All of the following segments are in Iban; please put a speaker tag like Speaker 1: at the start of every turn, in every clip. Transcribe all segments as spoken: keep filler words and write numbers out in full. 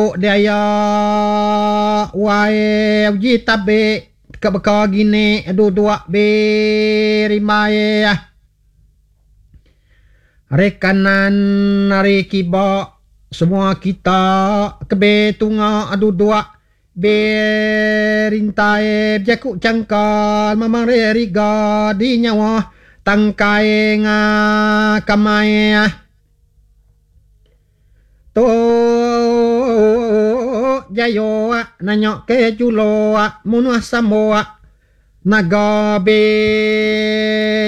Speaker 1: Bejaku dia ya wai uji tabe ke beka gini dua be rimai hari kanan hari kiba semua kita kebe tunga adu dua be rintai bejaku cangkal mamang riga di nyawa tangkai nga kamai tu jayo nanya ke julo munuh sambo naga be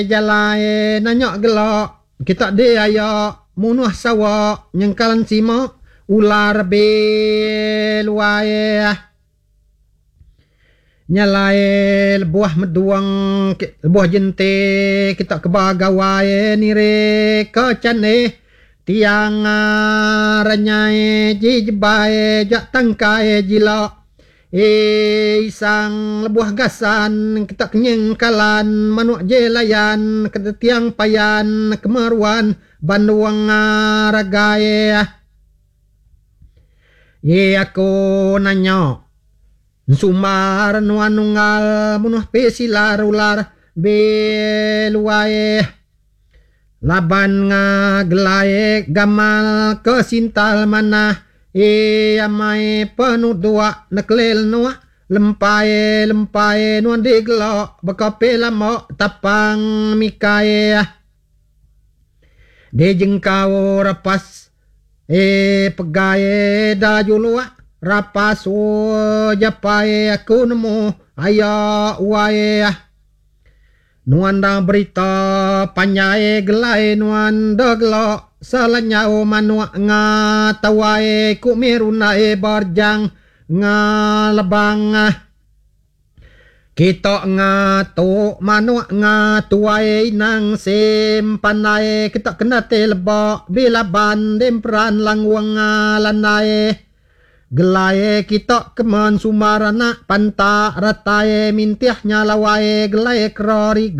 Speaker 1: jalai nanya gelak kita dia ya munuh sawa nyengkalan sima ular be luai nyalai lebuah meduang lebuah jente kita ke bagawai nire ke cane tiang ranyai ji jebai jak tangkai jila e isang lebuah gasan kita kenyengkalan manuk jelayan ke tiang payan kemeruan banduang ragai ye aku nanya sumbar nuan nunggal munuh pesilar ular beluai laban ngagelai gamal ke sintal manah e amai penuh dua neklil nuak lempai lempai nuan digelok bekapi lama tapang mikai di jengkau rapas e pegai da juluak rapas o japai aku nemu aya wai nuan dah berita panjai gelai nuan dah gelok selanyau manuk nga tawai ku mirunai berjang nga lebang kita nga tu manuk nga tuai nang sim pandai kita kena te lebak bila ban demperan langwang nga landai gelai kita kemen sumbar anak pantak ratai mintih nyalawai gelai keroriga.